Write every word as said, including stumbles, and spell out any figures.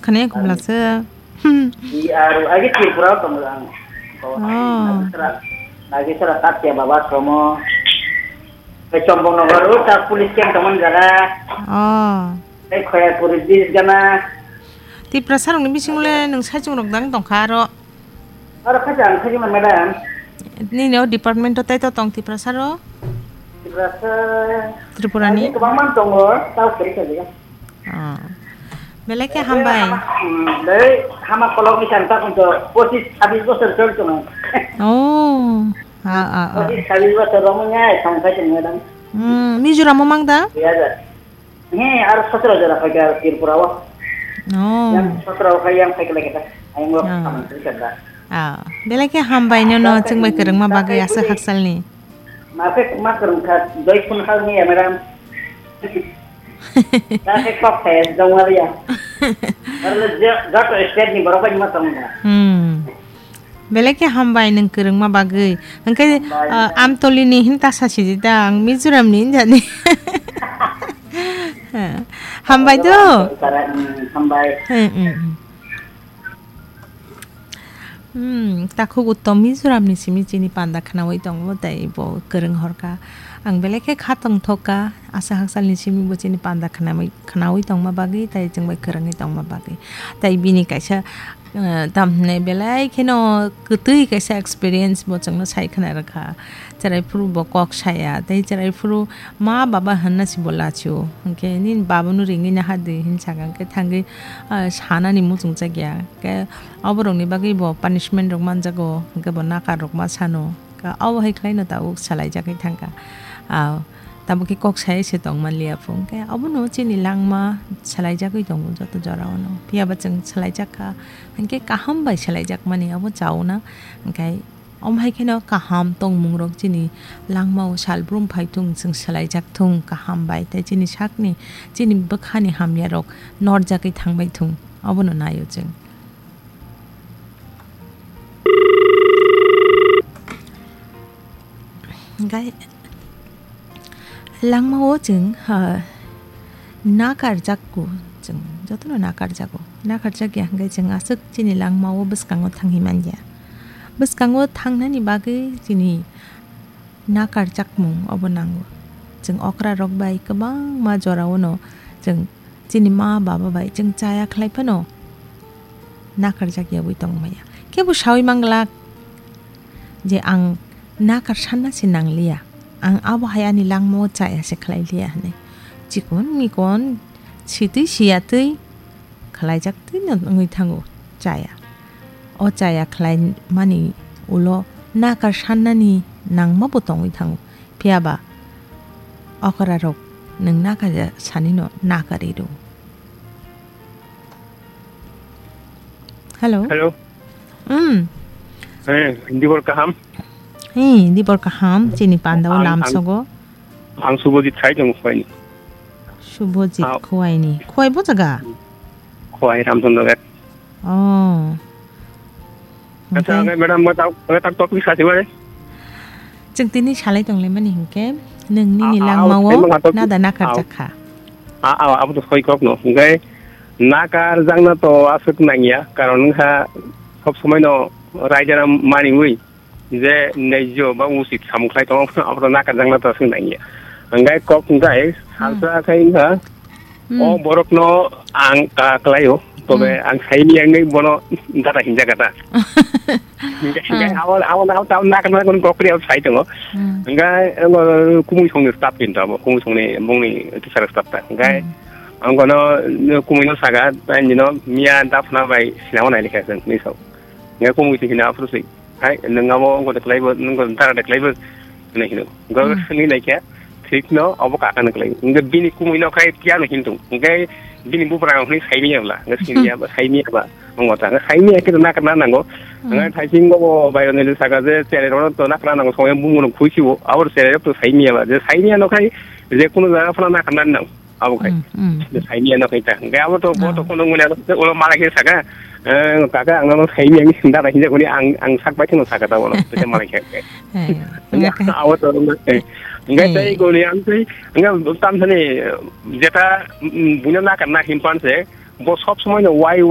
khne kumla se. Hmm. I aro agi Tripura tongo ang. Oh. Nagisara, Nagisara Tatya Baba Tomo. Pai Chombong Nogor, o ta police camp tongmani jaga. Oh. Pai Khoyapuri bridge gana. Tiprasa rokni bisingo le nwng saichung rok dang tongkha aro. Aro khaja ang khaji ma madam. Nini o department o tai to tong Tiprasa ro? Tiprasa. Tripura ni? Ani kwbangma tongo, tao kori kori. Ah. Belai khe hambai. Hmm, dei, hama kolok ni santa kunto, pochis sabis bosor chol chungo. Oh. Ah, ah, ah. Pochis sabis bosor romong ngai, song khai chungo dam. Hmm, Mizoram o mang da? Iya da. He, ar sotro jora khai ka Tripura o. Oh. Yang sotro khai yang khai kala kita. Ayang lo Ah. Kaman kari kata. Ah, belai khe hambai no, no, chwng bai kwrwngma bagwi asa haksalni. Ma khe ma kwrwng kha, doi phun kha ni ya, madam. Ta khe kok khe, dong wali ya. Ar le je, joto state ni borok bai ma tong na. Hmm. Belai khe hambai nwng kwrwngma bagwi. Hwnkhe, Hambai. Ah, Amtoli ni hin ta sa sidi da, ang Mizoram ni hinjani. Hambai do. Hambai. Hmm, hmm, hmm. Hmm, takhuk uttom Mizoram ni simi chini panda khwnaui tongo, tei bo kwrwng horkha. Ang belai khe kha tongthok kha, asa haksalni simi bo chini panda khwnaui, khwnaui tongma bagwi, tei chwng bai kwrwngwi tongma bagwi. Tei bini kaisa, eh, tamhinai belai kheno kwtwi kaisa experience bo chwngno sai khwna rwkha. Cherai phuru bo kok saya, tei cherai phuru ma baba hwnna si bo lachio. Hwnkhe nini baba no ringwi naha di hin saka, hwnkhe thangwi, ah, sanani muchung chakya. Hwnkhe oborokni bagwi bo punishment rok manjago, hwnkhe bo nakar rok ma sano. Ka obo hai khlaino tabuk salaijagwi thangkha. Ah, tabuk khe kok sai se tong manliya phu. Hwnkhe obono chini langma salaijagwi tongo joto jorao no. Phiya ba chwng salaijakha, hwnkhe kaham bai salaijakmani obo chauna. Hwnkhe Omo hai kheno kaham tongmung rok chini langmao salbrum phai thung, chwng swlaijak thung kaham bai, tei chini sakni, chini bwkhani hamya rok norjagwi thangbai thung, obono naio chwng. Gai-, Langmao chwng, ha, nakarjakgo, chwng jotono nakarjago. Nakarjakya hwnkhe chwng aswk chini langmao bwskango thangwi manya. Bwskango thangnani bagwi chini nakarjakmung obo nango. Chwng okrarok bai kwbangma joraono chwng chini ma baba bai chwng chaya khlai phano nakarjak yaui tongmaya. Kebo saui manglak je ang nakar sanna se nangliya, ang abo hai ani langmao chaya se khlai liya hinwi. Chikon mikon sitwi siyatwi khlaijaktwino wngwi thango chaya. O chaya khlaimani ulo nakar sannani nangmabo tongwi thango. Phiya ba okrarok nwng nakar sanino nakarwi rw. Hello. Hello. Hmm. Eh, dibor kaham? Hey, dibor kaham, chini pandao Ang, ang, lamsogo. Ang Subhajit sai tongo Khowai ni. Subhajit Ah. Khowai ni. Khowai bo jaga? Khowai Ramchandra Ghat. Oh. Acha, Hingke? Ang madam, mo tak, mo tak topic sa tiwai. Chwng tini salai tonglaimani hingke, nung nini Ah, ah, langmao ah, ah, nada nakar ah, jakha. Ah, ah, abo to soi kok no. Hingke nakar jakna to aswk nangya, karon wngkha sob somoi no raijana maniwi. Je naijo ba usit samung khlai tongo, abo to nakar jakna to aswk nangya. Hingke kok hingke Hmm. salsa khe wngkha, Hmm. o borokno ang ka-, khlaio, tobe Hmm. ang saimiyangni bono dada hinjakha ta. Hingke, hingke Ah. abo, abo, abo, abo nakar jakna kok kri abo sai tongo. Hmm. Hingke, abo kumui songni staff kinto abo, kumui songni bongni teacher staff ta. Hingke Hmm. ang kono kumui no saka, nino miya dapna bai sinamo nai likha se, ni sok. Hingke kumui si hina aphuru si. Hai, nwng abo wngkha de khlaibo, nwng dara de khlaibo, hinwi hino. Wngkha Hmm. swngwi naikha, thikno abo kaka no khlai. Wngkha bini kumui no khai phiya no hintung. Wngkha bini bupra no hinwi saimanya bwla. Wngkha siniya ba, saimanya ba. Wngkha ta, wngkha saimanya khe to nakar na nango. Hmm. Wngkha thaising bo bai rok ni saka je cherai rok to nakar na nango, songya bumung no khui sibo. Abo cherai rok to saimanya ba. Je saimanya no khai, je kuno jaga phano nakar na nango. Abo khai. Hmm, hmm. Saimanya no khai ta. Hingke abo to, bo to Ah. kono ngoni abo, ulo malai khe saka, eh, kaka ang no saimanya ni sinda hinja kuni ang, ang sak bai thung saka ta bono. Tete malai khe. Eh, Hingke hingke. abo to, eh, hingke Eh. tei kuni ang tei, hingke tam sani, jeta, mm, buino nakar na himpan se, bo sob somoi no wai